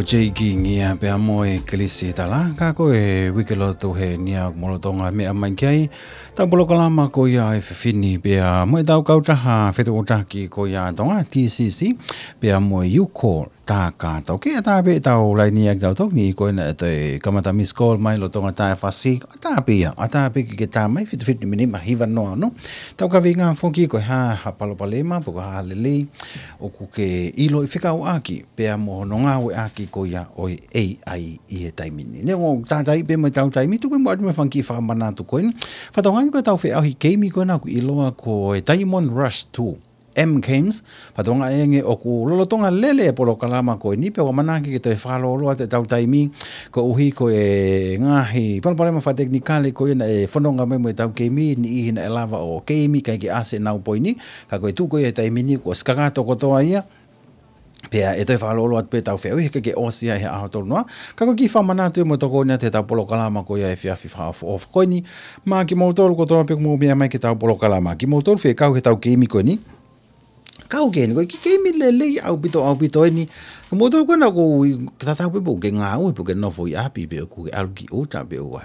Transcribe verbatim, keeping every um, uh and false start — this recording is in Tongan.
Ko Jay King ia pea mo e Kelisi Tala, ka ko e uike lotu he ʻaho ni ʻoku mo lolotonga meʻa mai ki ai ʻetau polokalama ko ia ʻa e fefine pea mo ʻetau kautaha fetuʻutaki ko ia ʻa Tonga, T C C, pea mo e U Call Takato. Ke ʻatā pē ʻetau laini ʻa kitautolu ni ko ena ʻe toe kamata miss call mai lolotonga taʻu ʻe fā, ʻatā pē ia, ʻatā pē ke ke tā mai, fitu fitu nima nima hiva noa ono. Tau kaveinga foki ko e hā ha palopalema, pe ko e hā lelei ʻoku ke ʻiloʻi fekauʻaki pea mo hono ngāueʻaki ko ia ʻo e A I ʻi he taimi ni. Neongo ʻoku tātaaʻi pē mo ʻetau taimi, tuku pē muʻa atu mo e fanga kiʻi fakamanatu ko eni. Fakatokangaʻi ko ʻetau feʻauhi keimi ko ena ʻoku ʻiloa ko e Diamond Rush Two, M Games. Fakatokangaʻi ange ʻoku lolotonga lele e polokalama ko eni, pea ʻoku ʻamanaki ke toe fakalōloa atu ʻetau taimi, koeʻuhi ko e ngaahi palopalema fakatekinikale ko ia naʻe fononga mai mo ʻetau keimi, niʻihi naʻe lava ʻo keimi kae ʻikai ke ʻasi ʻenau poini, ka ko e tuʻu ko ia he taimi ni kuo ʻosi kakato kotoa ia. Pea ʻe toe fakalōloa atu pē ʻetau feʻauhi, heʻikai ke ʻosi ia he ʻaho tolu noa. Ka ko e kiʻi fakamanatu ia mo tokoni atu heʻetau polokalama ko ia he efiafi fakaʻofoʻofa ko eni. Maʻa kimoutolu kotoa pē ʻoku mou meʻa mai ki heʻetau polokalama, kimoutolu fekau heʻetau keimi ko eni. Kau ki heni, ko e kiʻi keimi lelei ʻaupito, ʻaupito eni. Ko moutolu ko ena ʻoku tatau pē pe ʻoku ke ngāue, pe ʻoku ke nofo ʻi ʻapi, pe ʻoku ke ʻalu ki ʻuta, pe ʻoku